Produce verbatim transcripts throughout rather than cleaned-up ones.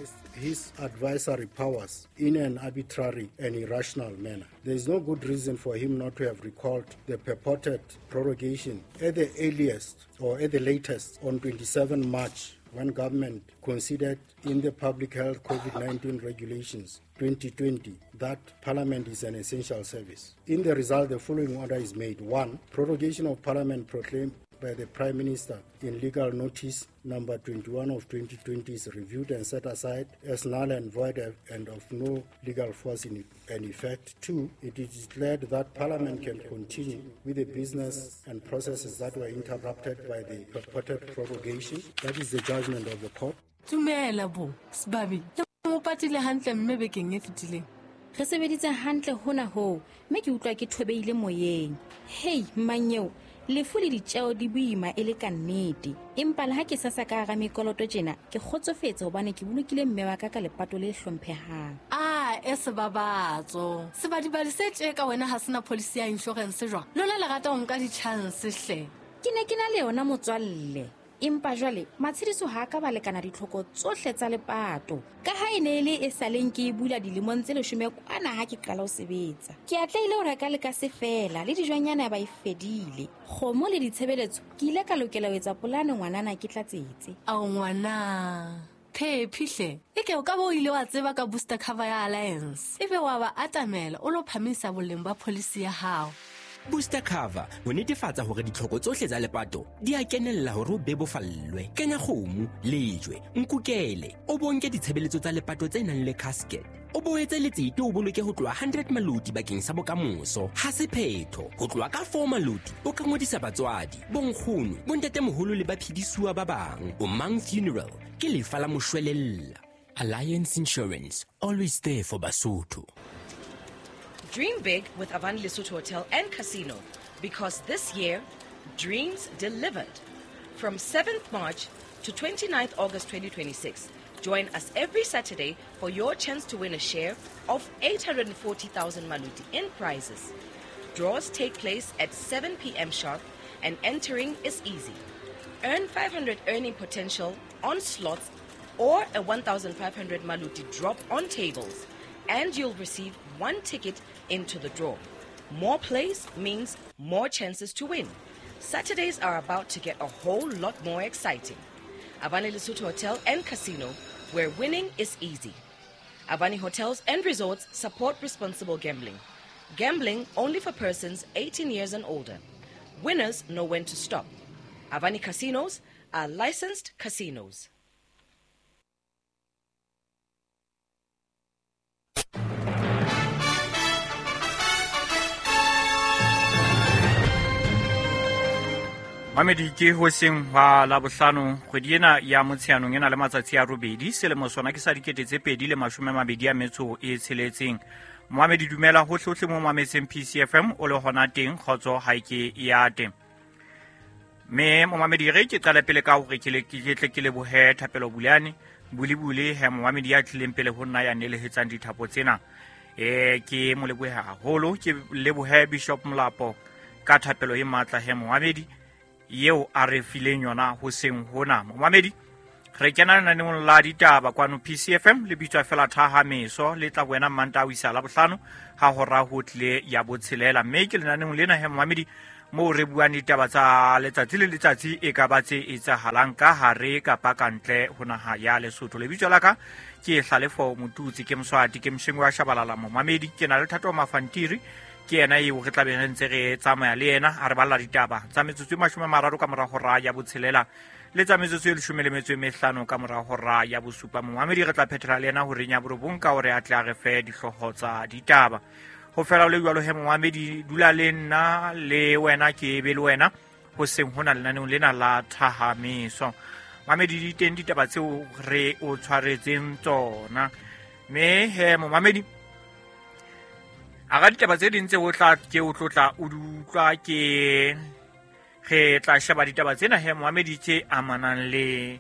exercised his advisory powers in an arbitrary and irrational manner. There is no good reason for him not to have recalled the purported prorogation at the earliest or at the latest on twenty-seventh March, when government considered in the Public Health COVID nineteen Regulations twenty twenty that Parliament is an essential service. In the result, the following order is made. One, prorogation of Parliament proclaimed by the Prime Minister in legal notice number twenty-one of twenty twenty is reviewed and set aside as null and void and of no legal force in and effect. Two, it is declared that Parliament can continue with the business and processes that were interrupted by the purported prorogation. That is the judgment of the court. Tumela bo, Sbabi, le mo patile hantle mme bekeng e fetileng. Re sebeditse hantle hona ho, mme ke utlwa ke thobeile moyeng. Hey, mmanyeo, lefu le ditjeo di boima e le ka nnete. Empa le ha ke sasa ka hara mekoloto tjena, ke kgotsofetse hobane ke bolokile mme wa ka ka lepato le hlomphehang. Ah, e sebabatso. Sebadibadi se tje ka wena ha sena policy ya insurance jwang? Lona le rata ho nka di-chance hle. Ke ne ke na le yona motswalle. Empa jwale matshediso ha ka ba lekana ditlhoko tsohle tsa lepato. Ka ha e ne e le e saleng ke e bula dilemong tse leshome kwana ha ke qala ho sebetsa. Ke atlehile ho reka le ka se fela le dijonyana ba e fedile. Kgomo le ditshebeletso ke ile ka lokela ho etsa polane ngwanana ke tlatsetse. Ao ngwana. Phephi hle. Eke o ka bo ile wa tseba ka booster cover ya Alliance. Ebe wa ba atamela o lo phamisa boleng ba policy ya hao. Booster cover ho netefatsa hore ditlhoko tsohle tsa lepato di a kenella hore o bebofallwe. Kenya kgomo, lejwe, nkukele, o bonke ditshebeletso tsa lepato tse nang le casket. O boetse letsete o boloke ho tloha hundred maloti bakeng sa bokamoso. Ha se phetho, ho tloha ka four maloti o ka ngodisa batswadi, bonkgono, bontatemoholo le baphedisuwa ba bang. O Mang Funeral ke lefa la moshwelella. Alliance Insurance, always there for Basotho. Dream big with Avani Lesotho Hotel and Casino, because this year, dreams delivered. From seventh March to twenty-ninth August twenty twenty-six, join us every Saturday for your chance to win a share of eight hundred forty thousand maluti in prizes. Draws take place at seven p.m. sharp and entering is easy. Earn five hundred earning potential on slots or a one thousand five hundred maluti drop on tables, and you'll receive one ticket into the draw. More plays means more chances to win. Saturdays are about to get a whole lot more exciting. Avani Lesotho Hotel and Casino, where winning is easy. Avani Hotels and Resorts support responsible gambling. Gambling only for persons eighteen years and older. Winners know when to stop. Avani Casinos are licensed casinos. Mamedi ke hoseng hwa Labohlano kgwedi ena ya Motsheanong ena le matsatsi a robedi selemo sona ke sa dikete tse pedi le mashome a mabedi a metso e tsheletseng. Moamedi dumela hohle mo mametseng P C F M o le hona teng kgotso ha ke ya teng. Me momamedi re ke qala pele ka hore ke le ke tle ke lebohe Thapelo Bulane bulibule he momamedi ya tlileng pele ho nna ya nelehetsang dithapo tsena. Eh ke mo lebohe haholo ke lebohe Bishop Molapo ka thapelo e matla he momamedi yeo a re fileng yona hoseng hona. Momamedi re kena lenaneong la ditaba kwano P C F M le bitswa fela Thaha Meso le tla wena Mantaha ho isa Labohlano ha hora ho tlile ya botshelela. Mme ke lenaneong lena he momamedi moo re buang ditaba tsa letsatsi le letsatsi e ka ba tse etsahalang ka hare kapa ka ntle ho naha ya Lesotho. Lebitso la ka ke Hlalefo Motutsi, ke Moswati, ke Mshengwe wa Shabalala. Momamedi ke na le Thato Mafantiri, ke yena eo re tla be re ntse re tsamaya le yena a re balla ditaba tsa metsotso e mashome a mararo ka mora hora ya botshelela le tsa metsotso e leshome le metso e mehlano ka mora hora ya bosupa. Momamedi re tla phethela le yena horeng ya borobong ka hore a tle a re fe dihlooho tsa ditaba. Ho fela le jwalo he momamedi dula le nna le wena ke be le wena hoseng hona lenaneong lena la Thaha Meso. Mamedi di teng ditaba tseo re o tshwaretseng tsona. Mme he momamedi a ga ditaba tse ding tse o tla ke o tlotla o di utlwa ke re tla sheba ditaba tsena he momamedi tse amanang le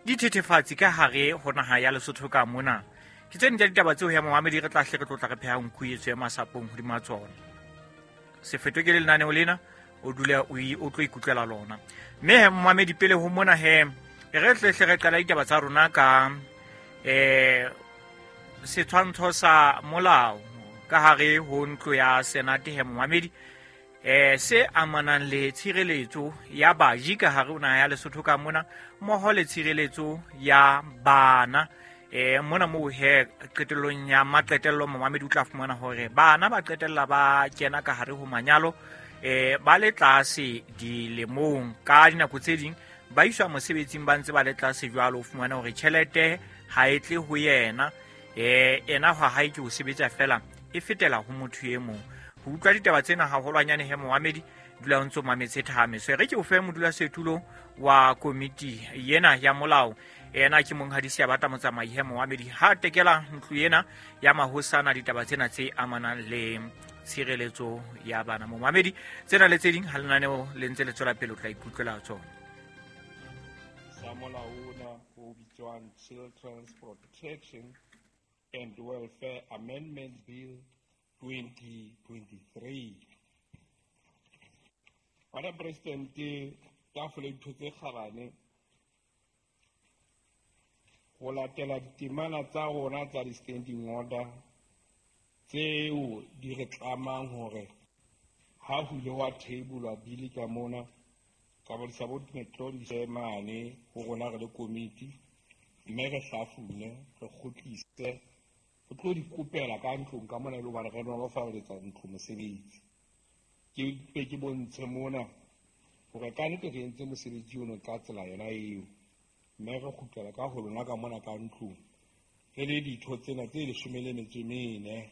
dithethefatsi ka hare ho naha ya Lesotho ka mona. Ke tse ding tsa ditaba tseo he momamedi re tla hle re tlotla re pheha nku etso ya masapong hodima tsona. Se fetwe ke lenaneo lena o dule o o tlo ikutlwela lona. Mme he momamedi pele ho mona he re tle hle re qala ditaba tsa rona ka eh setshwantsho sa molao ka hare ho ntlo ya Senate he momamedi eh se amanang le tshireletso ya baji ka hare ho naha ya Lesotho ka mona mmoho le tshireletso ya bana eh mona moo he qetellong ya maqetello momamedi o tla fumana hore bana ba qetella ba kena ka hare ho manyalo eh ba le tlase dilemong ka dinako tse ding ba iswa mosebetsing ba ntse ba le tlase jwalo o fumana hore tjhelete ha e tle ho yena eh ena ha hae ke ho sebetsa fela e fetela ho motho e mong. Ho utlwa ditaba tsena haholwanyane he momamedi dula o ntso mametse Thahamiso. E re ke o fe modulasetulo wa komiti yena ya molao ena ke monghadi Seabata Motsamai he momamedi ha tekela ntlo ena ya mahosana ditaba tsena tse amanang le tshireletso ya bana. Momamedi tsena le tse ding ha lenaneo le ntse le tswela pele o tla ikutlwela tsona. Sa molao ona o bitswang Children's Protection and Welfare Amendment Bill twenty twenty-three. Madam President, tafole ditho tse kgabane ho latela ditemana tsa rona tsa di-standing order tseo di re tlamang hore ha ho ile wa table bili ka mona ka bontsha bo dimetlodi mane ho rona re le komiti mme re hlafune re kgutlise re tlo di kopela ka ntlong ka mona e le hobane re nolofaletsa ntlo mosebetsi. Ke be ke bontshe mona hore ka nnete re entse mosebetsi ono ka tsela yona eo mme re kgutlela ka ho lona ka mona ka ntlong re le ditho tsena tse leshome le metso e mene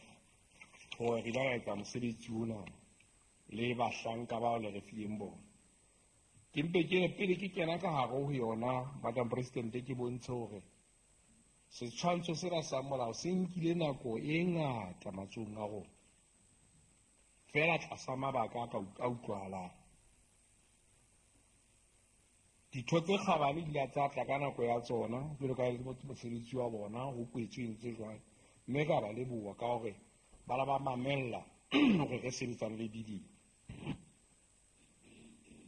hore re ile ra etsa mosebetsi ona le bahlanka bao le re fileng bona. Ke mpe ke re pele ke kena ka hare ho yona Madam President ke bontshe hore setshwantsho sena sa molao se nkile nako e ngata matsohong a rona fela tlasa mabaka a ka a utlwahalang. Ditho tse kgabane di ile tsa tla ka nako ya tsona jwalo ka mosebetsi wa bona ho kwetswe ntse jwang mme ka ba leboha ka hore ba la ba mamella hore re sebetsane le bili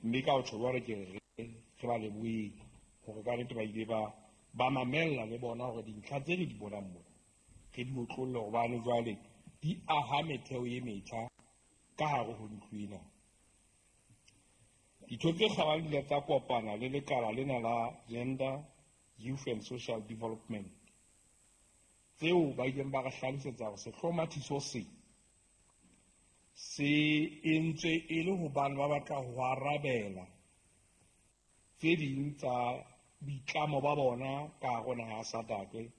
mme ka ho tjho jwalo ke re re ba leboheng hore ka nnete ba ile ba ba mamella le bona hore dintlha tse re di bonang mona re di otlolle hobane jwale di aha metheo e metjha ka hare ho ntlo ena. Ditho tse kgabane di ile tsa kopana le lekala lena la Gender, Youth and Social Development tseo ba ileng ba re hlalosetsa hore sehlomathiso se se entswe e le hobane ba batla ho arabela tse ding tsa boitlamo ba bona ka hare ho naha ya SADC.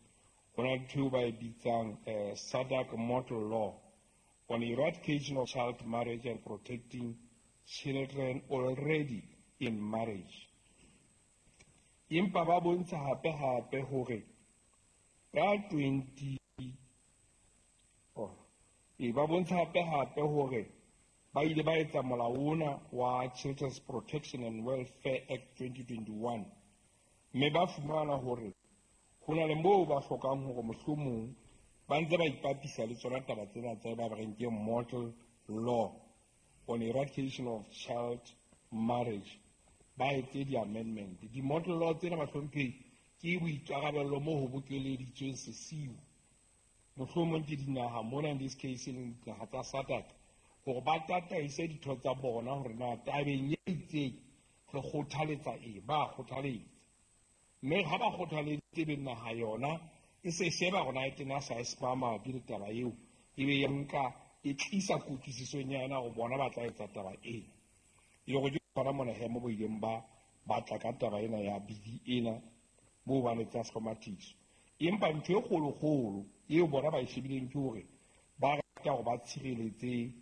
Ho na le ntho eo ba e bitsang SADC Model Law on Eradication of Child Marriage and Protecting Children Already in Marriage. Empa ba bontsha hape hape hore ka twenty oh e ba bontsha hape hape hore ba ile ba etsa molao ona wa Children's Protection and Welfare Act twenty twenty-one mme ba fumana hore ho na le moo ba hlokang hore mohlomong ba ntse ba ipapisa le tsona taba tsena tse ba reng ke Model Law on Eradication of Child Marriage ba etse di-amendment. Di-model law tsena bahlomphehi ke boikarabello moo ho bokeleditsweng sesiu mohlomong ke dinaha mona in this case e leng dinaha tsa SADC hore ba tataise ditho tsa bona hore na tabeng e itseng re kgothaletsa eng, ba kgothaletsa mme ha ba kgothaleditse be naha yona e se sheba hore na e tena sa e mabapi le taba eo e be ya nka e tlisa kutlwisisong ya yona hore bona ba tla etsa taba ena. E le hore ke hona mona he mo bo ileng ba batla ka taba ena ya bili ena moo ba letsa sehlomathiso. Empa ntho e kgolokgolo eo bona ba e shebileng ke hore ba rata hore ba tshireletse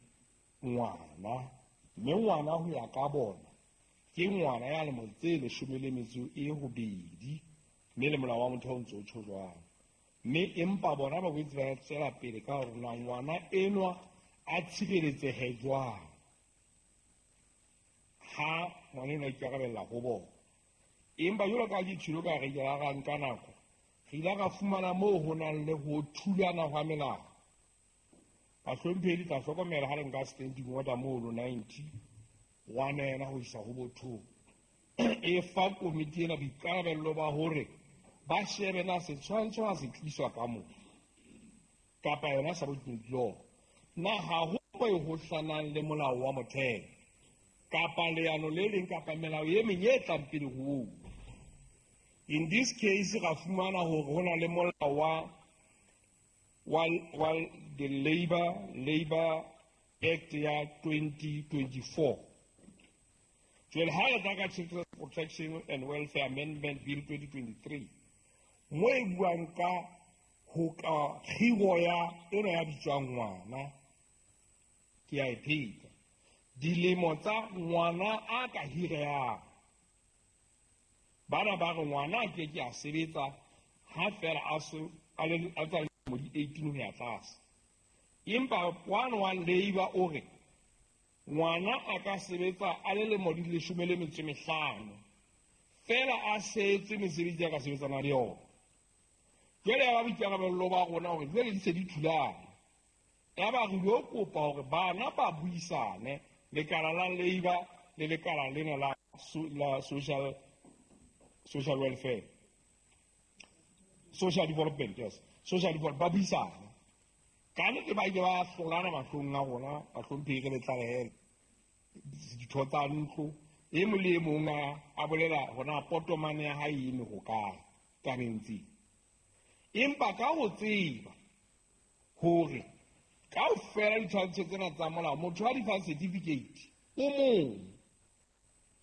ngwana mme ngwana ho ya ka bona ke ngwana ya lemo tse leshome le metso e robedi mme le molao wa motheo o ntse o tjho jwalo. Mme empa bona ba boetse ba tswela pele ka hore na ngwana enwa a tshireletsehe jwang ha ngwana enwa a ikarabella ho bona. Empa jwalo ka ke tjhilo ka re ke ra nka nako re ile ra fumana moo ho nang le ho thulana hwa melao. Bahlomphehi le tla hlokomela ha le nka standing order mono ninety one ena ho isa ho bo two e fa komiti ena boikarabello ba hore ba shebe na setshwantsho ha se tliswa ka moo kapa yona subordinate law na ha ho mo e hohlanang le molao wa motheo kapa leano le leng kapa melao e meng e tlang pele ho oo. In this case ra fumana hore ho na le molao wa wa wa the Labor Labor Act ya twenty twenty-four. Jwale ha re tla ka Children's Protection and Welfare Amendment Bill twenty twenty-three mo e buang ka ho ka kgiro ya ena ya bitswang ngwana, ke a e pheta, dilemo tsa ngwana a ka hirehang. Bana ba re ngwana a ke ke a sebetsa ha fela a se a le a tsa mo di eighteen ho ya tlase. Empa one one labor o re ngwana a ka sebetsa a le lemo di leshome le metso e mehlano fela a setse mesebetsi ya ka sebetsana le yona. Jwale ya ba boikarabello ba rona hore jwale di se di thulana. Ya ba re lo kopa hore bana ba buisane lekala la labor le lekala lena la la social social welfare, social development, yes, social development, ba buisane. Ka nnete ba ile ba hlolana mahlong a rona, bahlomphehi re le tlalehele ditho tsa ntlo, e mong le e mong a bolela hona potomane ya hae e eme hokae tabeng tsena. Empa ka ho tseba hore kaofela ditshwantsho tsena tsa molao, motho a di fang certificate o mong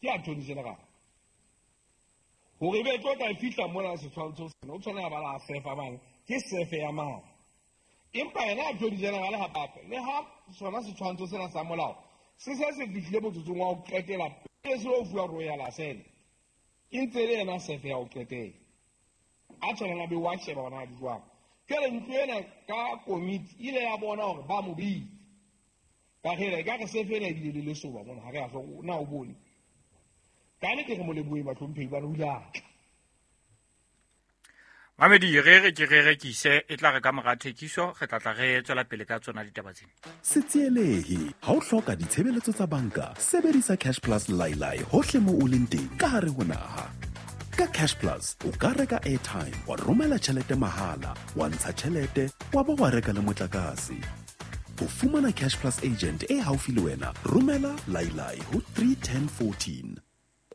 ke attorney general. Hore ebe tlo tla fihla mona setshwantsho sena, o tshwanela ba la sefa mane, ke sefe ya mang. Empa yena attorney general hape le ha sona setshwantsho sena sa molao se se se fihlile motsotsong wa ho qetela pele se lo fuwa royal assent, e ntse le yena sefe ya ho qetela. A tshwanela be wa sheba hona di jwang. Jwale ntlo ena ka komiti ile ya bona hore ba mo bitse. Ka re e ka re sefe ena ebile le lesoba mona, ha re a hloka na o bone. Ka nnete re mo leboheng bahlomphehi bana, o ile a tla. Mamedi, re re ke re rekise e tla re ka mora thekiso re tla tla re tswela pele ka tsona ditaba tsena. Se tsielehe ha o hloka ditshebeletso tsa banka, sebedisa Cash Plus Lailai hohle mo o leng teng ka hare ho naha. Ka Cash Plus o ka reka airtime, wa romela tjhelete mahala, wa ntsha tjhelete, wa ba wa reka le motlakase. Ho fumana Cash Plus agent e haufi le wena, romela Lailai ho three ten fourteen.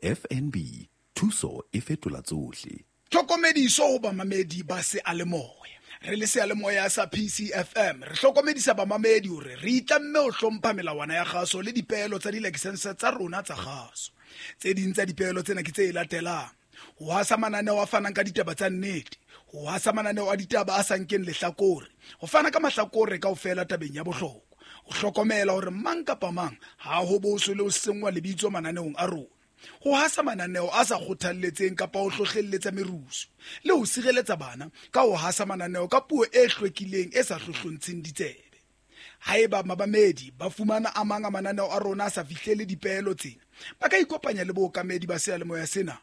F N B, thuso e fetola tsohle. Tlhokomediso ho bamamedi ba seyalemoya. Re le seyalemoya sa P C F M re hlokomedisa bamamedi hore re itlamme ho hlompha melawana ya kgaso le dipeelo tsa dilakesense tsa rona tsa kgaso. Tse ding tsa dipeelo tsena ke tse latelang: ho hasa mananeo a fanang ka ditaba tsa nnete, ho hasa mananeo a ditaba a sa nkeng lehlakore, ho fana ka mahlakore kaofela tabeng ya bohlokwa, ho hlokomela hore mang kapa mang ha ho boswe le ho senngwa lebitso mananeong a rona, ho hasa mananeo a sa kgothalletseng kapa ho hlohlelletsa merusu, le ho sireletsa bana ka ho hasa mananeo ka puo e hlwekileng e sa hlohlontsheng ditsebe. Haeba mabamedi ba fumana a mang a mananeo a rona a sa fihlele dipeelo tsena, ba ka ikopanya le bookamedi ba seyalemoya sena.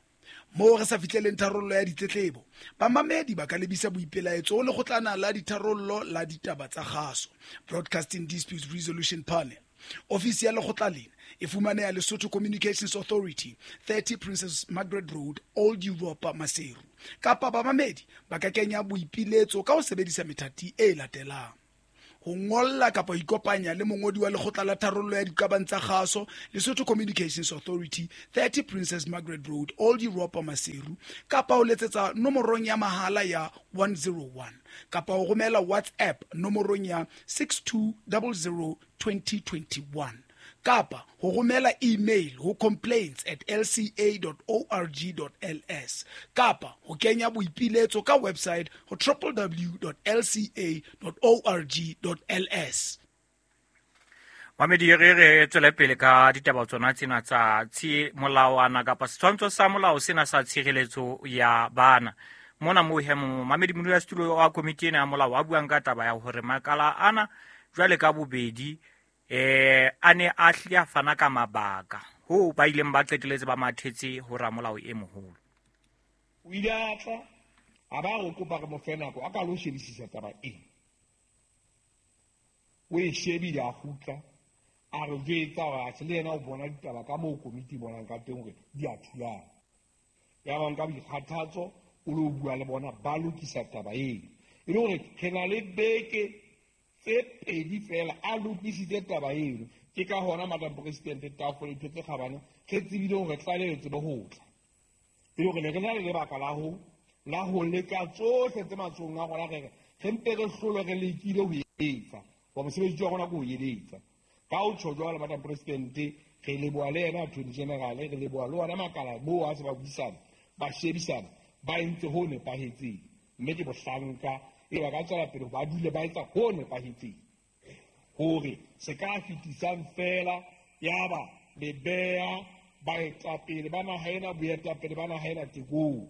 Moo re sa fihleleng tharollo ya ditletlebo, bamamedi ba ka lebisa boipelaetso ho lekgotlana la ditharollo la ditaba tsa kgaso, Broadcasting Disputes Resolution Panel. Ofisi ya lekgotla lena e fumaneha Lesotho Communications Authority, thirty Princess Margaret Road, Old Europa, Maseru. Kapa bamamedi ba ka kenya boipiletso ka ho sebedisa methati e latelang: ho ngolla kapa ho ikopanya le mongodi wa lekgotla la tharollo ya diqabang tsa kgaso, Lesotho Communications Authority, thirty Princess Margaret Road, Old Europa, Maseru, kapa ho letsetsa nomorong ya mahala ya one zero one, kapa ho romela WhatsApp nomorong ya six two zero zero twenty twenty-one, kapa ho romela email ho complaints at l c a dot org dot l s, kapa ho kenya boipiletso ka website ho w w w dot l c a dot org dot l s. Mamedi, re re tswele pele ka ditaba tsona tsena tsa tshi molawana kapa setshwantsho sa molao sena sa tshireletso ya bana. Mona mo he momamedi modulasetulo wa komiti ena ya molao a buang ka taba ya hore makala ana jwale ka bobedi eh a ne a hlile a fana ka mabaka ho ba ileng ba qeteletse ba mathetse ho ramolao e moholo. O ile a tla a ba re kopa re mo fe nako a ka lo shebisisa taba ena. O e shebile a kgutla a re jwetsa hore atjhe le yena o bona ditaba ka moo komiti e bonang ka teng hore di a thulana. Ya ba nka boikgathatso o lo bua le bona ba lokisa taba eo. E le hore re na le beke tse pedi fela a lokisitse taba eno. Ke ka hona Madam President tafole ditho tse kgabane re tsebile hore tlaleho tsebe ho tla. E le hore ne re na le lebaka la ho la ho leka tsohle tse matsohong a rona, re re mpe re hlolwe re lekile ho etsa wa mosebetsi wa rona ke ho eletsa. Ka ho tjho jwalo Madam President, re leboha le yena Attorney General, re leboha le ona makala moo a se ba buisana ba shebisana ba entse ho nepahetseng, mme ke bohlanka e ba ka tswela pele ba dule ba etsa ho nepahetseng hore se ka fetisang fela yaba le beha baetapele ba naha ena boetapele ba naha ena tekong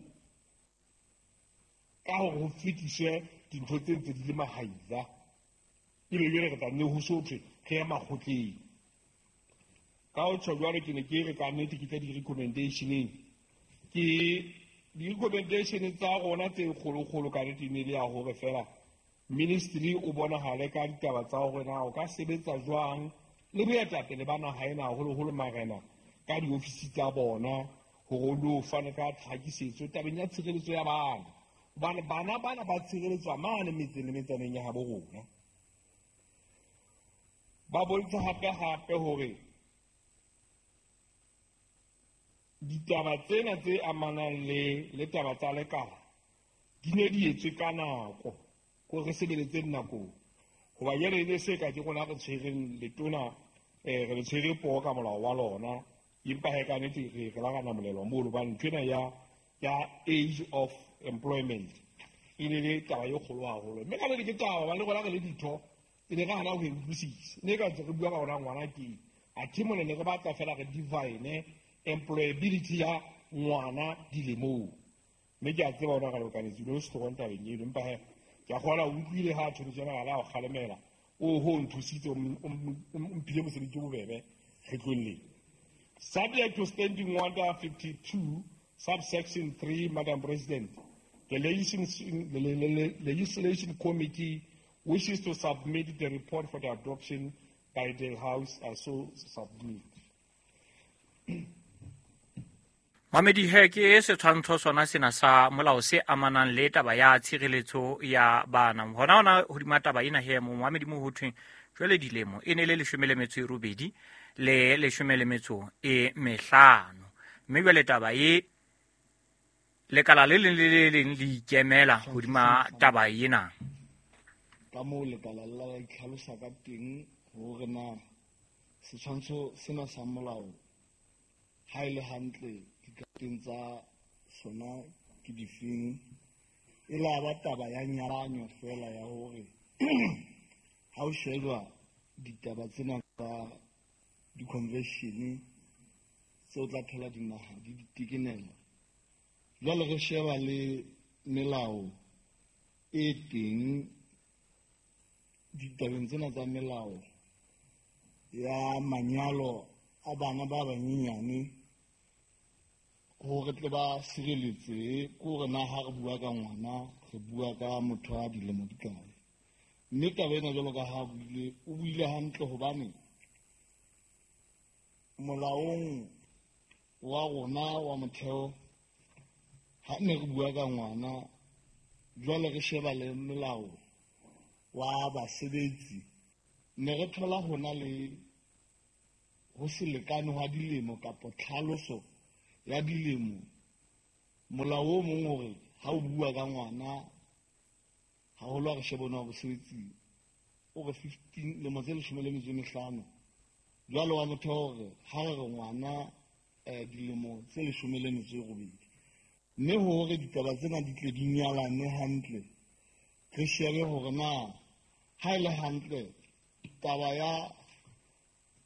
ka hore ho fetiswe dintho tse ntse di le mahaila, ebe jwale re tla nne ho so thwe re ya makgotleng. Ka ho tjho jwalo ke ne ke re ka nnete ke tla di-recommendationeng, ke di-recommendation tsa rona tse kgolokgolo ka nnete ne le ya hore fela ministry o bonahale ka ditaba tsa hore na o ka sebetsa jwang le boetapele ba naha ena haholoholo marena ka diofisi tsa bona hore o lo fane ka tlhakisetso tabeng ya tshireletso ya bana, hobane bana bana ba tshireletswa mane metseng le metsaneng ya habo rona. Ba bontsha hape hape hore ditaba tsena tse amanang le le taba tsa lekala di ne di etswe ka nako, ko re sebeletse nakong, hoba jwale e ne se ka ke rona re tshwereng letona eh re le tshwere poho ka molao wa lona, empa he ka nnete re re la ra namolelwa moo hobane ntho ena ya ya age of employment e ne le taba e kgolo haholo, mme ka nnete ke taba hobane le rona re le ditho e ne re hana ho e utlwisisa, ne ka ntse re bua ka hona ngwana ke athe mona ne re batla fela re divine employability ya ngwana dilemong, mme ke a tseba hona ka lokanetsi lo se tabeng eno, empa he ke a kgona o utlwile ha Attorney General a o kgalemela o ho nthusitse o mphile mosebetsi o bobebe kgetlong lena. Subject to Standing Order fifty-two, subsection three, Madam President, the Legislation, the Legislation Committee wishes to submit the report for the adoption by the House. I so submit. Mamedi he ke setshwantsho sona sena sa molao se amanang le taba ya tshireletso ya bana. Hona hona hodima taba ena he mo mamedi mo ho thweng jwale dilemo e ne le leshome le metso e robedi le leshome le metso e mehlano, mme jwale taba e lekala le leng le le leng le ikemela hodima taba ena. Ka moo lekala la itlhalosa ka teng hore na setshwantsho sena sa molao ha e le hantle dikateng tsa sona ke difeng, e la ba taba ya nyalanyo fela ya hore ha o shejwa ditaba tsena tsa di-convention tse o tla thola dinaha di ditekenela. Jwale re sheba le melao e teng ditabeng tsena tsa melao ya manyalo a bana ba banyenyane hore tle ba sireletse, ke hore na ha re bua ka ngwana re bua ka motho a dilemo di kae. Mme taba ena jwalo ka ha buile o buile hantle hobane molaong wa rona wa motheo ha ne re bua ka ngwana jwale re sheba le melao wa basebetsi, ne re thola hona le ho se lekane hwa dilemo kapa tlhaloso ya dilemo. Molao o mong hore ha o bua ka ngwana haholo ha re shebana wa bosebetsi o re fifteen lemo tse leshome le metso e mehlano, jwale wa motho hore ha re re ngwana eh dilemo tse leshome le metso e robedi, mme hore ditaba tsena di tle di nyalane hantle re shebe hore na ha e le hantle taba ya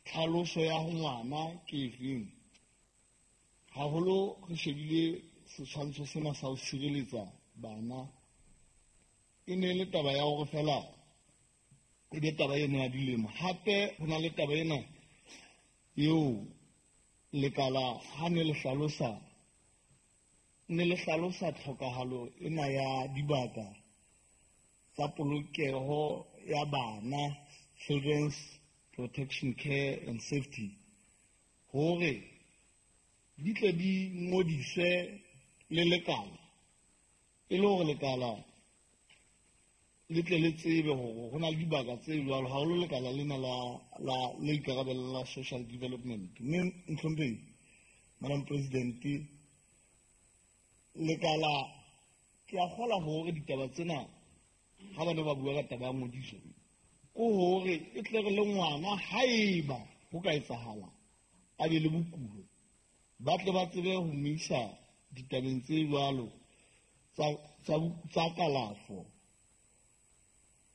tlhaloso ya ho ngwana ke efeng. Haholo re shebile setshwantsho sena sa ho sireletsa bana, e ne le taba ya hore fela e be taba ena ya dilemo. Hape ho na le taba ena eo lekala ha ne le hlalosa ne le hlalosa tlhokahalo ena ya dibaka tsa polokeho ya bana, Children's Protection Care and Safety, hore di tle di ngodiswe le lekala E le hore lekala le tle le tsebe hore ho na le dibaka tse jwalo, haholo lekala lena la la le ikarabellang la social development. Mme mohlomphehi Madam President, lekala ke a kgolwa hore ditaba tsena ha ba ne ba bua ka taba ya ngodiso, ke hore e tle re le ngwana haeba ho ka etsahala a be le bokulo, ba tle ba tsebe ho mo isa ditabeng tse jwalo tsa tsa tsa kalafo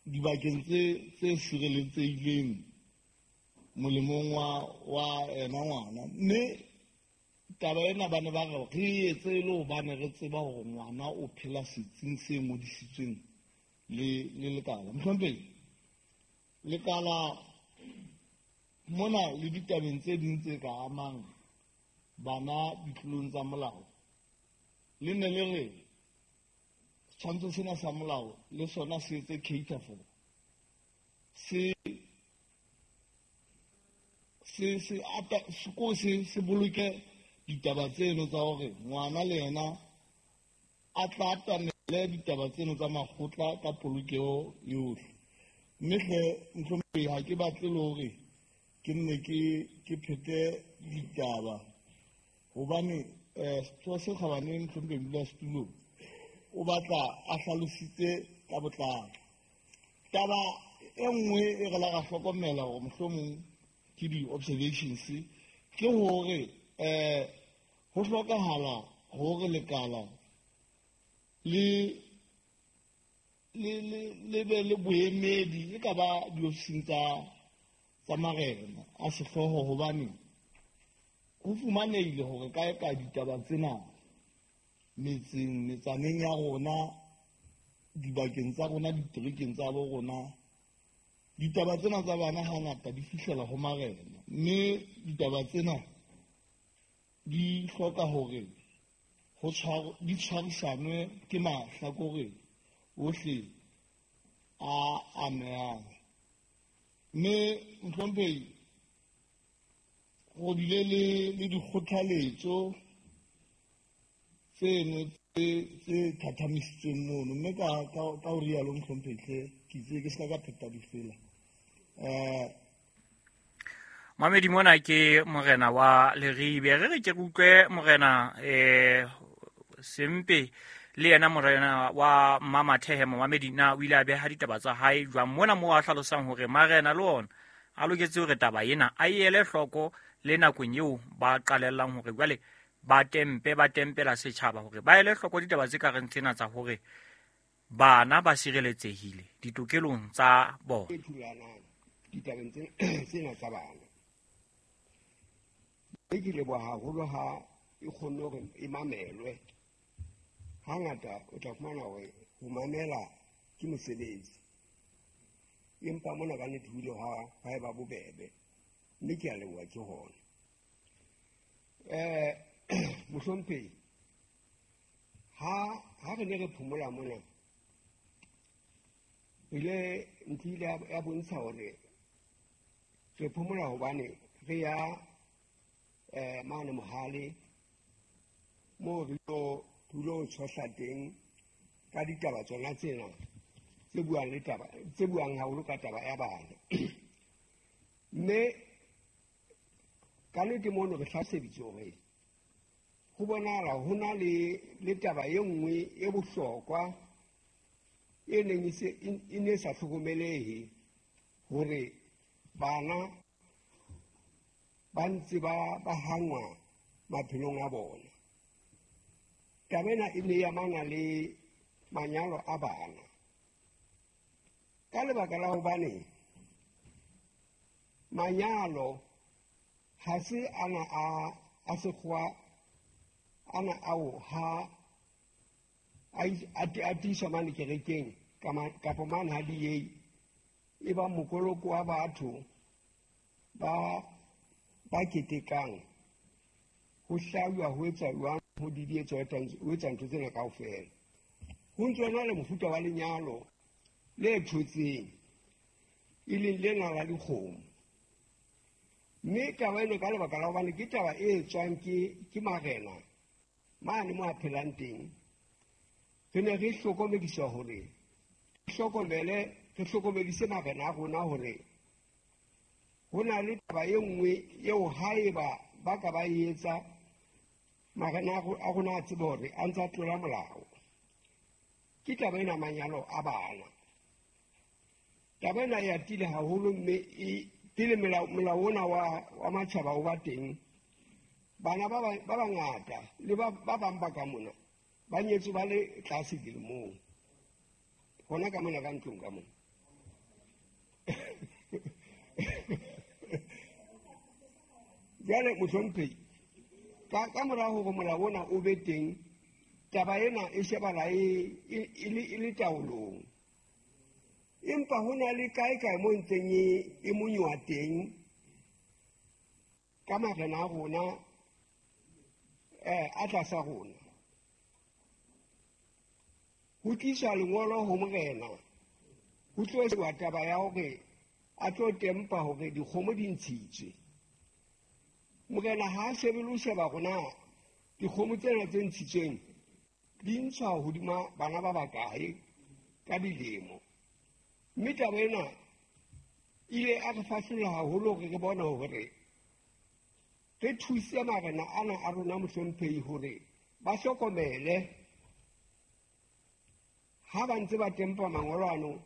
dibakeng tse tse sireletsehileng molemong wa wa ena ngwana. Mme taba ena ba ne ba re re etse e le hobane re tseba hore ngwana o phela setsing se ngodisitsweng le le lekala. Mohlomphehi, lekala mona le ditabeng tse ding tse ka amang bana ditlolong tsa molao, le ne le re setshwantsho sena sa molao le sona se etse cater for se se se ata se se se boloke ditaba tseno tsa hore ngwana le yena a tla atamele ditaba tseno tsa makgotla ka polokeho yohle. Mme hle mohlomphehi, ha ke batle le hore ke nne ke ke phete ditaba hobane um setho se kgabane mohlomphehi modulasetulo o batla a hlalositse ka botlalo. Taba e nngwe e re la ra hlokomela hore mohlomong ke di-observations ke hore um ho hlokahala hore lekala le le le le be le boemedi e ka ba diofising tsa tsa marena a sehlooho, hobane ho fumanehile hore kae kae ditaba tsena metseng, metsaneng ya rona, dibakeng tsa rona, diterekeng tsa bo rona, ditaba tsena tsa bana hangata di fihlela ho marena. Mme ditaba tsena di hloka hore ho tshwaro di tshwarisanwe ke mahlakore ohle a amehang. Mme mohlomphehi, go bile le le dikgothaletso tseno tse tse thathamisitsweng mono. Mme ka ka ka ho rialo mohlomphehi hle, ke itse ke se ka pheta difela. Eh Mamedi, mona ke morena wa Leribe. Re re ke re utlwe morena eh Sempe le yena morena wa Mmamathehe. Momamedi, na o ile a beha ditaba tsa hae jwang mona moo a hlalosang hore marena le ona a loketse hore taba ena a e ele hloko le nakong eo ba qalellang hore jwale ba tempe ba tempela setjhaba hore ba ele hloko ditaba tse ka reng tsena tsa hore bana ba sireletsehile ditokelong tsa bona. E thulanang ditabeng tsena tsa bana. E ke leboha haholo ha e kgonne hore e mamelwe. Hangata o tla fumana hore ho mamela ke mosebetsi, empa mona ka nnete ho ile ha ha eba bobebe, mme ke a leboha ke hona. Eh mohlomphehi, ha ha re ne re phomola mona, ile ntho ile ya bontsha hore re phomola hobane re ya eh mane Mohale moo re lo lo tshohla teng ka ditaba tsona tsena tse buang le taba tse buang haholo ka taba ya bana. Mme ka nnete mono re hlaseditse hore ho bonahala ho na le le taba e nngwe e bohlokwa e neng e se e ne sa hlokomelehe hore bana ba ntse ba ba hangwa maphelong a bona. Taba ena e ne e amana le manyalo a bana ka lebaka la hobane manyalo ha se ana a a sekgowa ana ao ha a tiiswa mane kerekeng kapa mane ha di ye e ba mokoloko wa batho ba ba ketekang ho hlajwa ho etsa jwang ho didietswa ho etsa ntho tsena kaofela. Ho ntso na le mofuta wa lenyalo le thotseng e leng lena la dikgomo. Mme taba ena ka lebaka la hobane ke taba e etswang ke ke marena mane mo a phelang teng, Re ne re hlokomediswa hore hlokomele re hlokomedise marena a rona hore ho na le taba e nngwe eo haeba ba ka ba e etsa marena a rona a tsebe hore a ntsa tlola molao. Ke taba ena manyalo a bana. Taba ena e atile haholo mme e pele melao molao ona wa wa matjhaba o ba teng, bana ba ba bangata le ba ba bang ba ka mona ba nyetswe ba le tlase dilemong hona ka mona ka ntlong ka mona. Jwale mohlomphehi, ka ka mora hore molao ona o be teng, taba ena e shebala e e le e le taolong. Empa ho na le kae kae mo ntseng e e monywa teng ka marena a rona eh a tlasa rona. Ho tliswa lengolo ho morena, ho tlo sheba taba ya hore a tlo tempa hore dikgomo di ntshitswe. Morena ha a shebe le ho sheba rona dikgomo tsena tse ntshitsweng di ntshwa hodima bana ba bakae ka dilemo. Mme taba ena ile a re fahlolla haholo hore re bone hore re thuse marena ana a rona mohlomphehi hore ba hlokomele ha ba ntse ba tempa mangolo ano,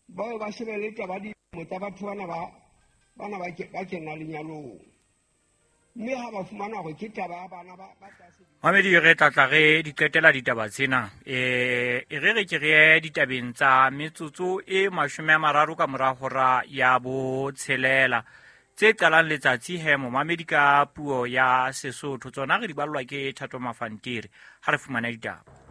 ba ba shebele taba dilemo tsa batho bana ba bana ba ba kena lenyalong. Mme ha ba fumana hore ke taba ya bana ba ba tlase. Mamedi, re tla tla re di qetela ditaba tsena. Eh e re re ke re ditabeng tsa metsotso e mashome a mararo ka mora hora ya botshelela tse qalang letsatsi he momamedi ka puo ya Sesotho. Tsona re di ballwa ke Thato Mafantiri. Ha re fumana ditaba.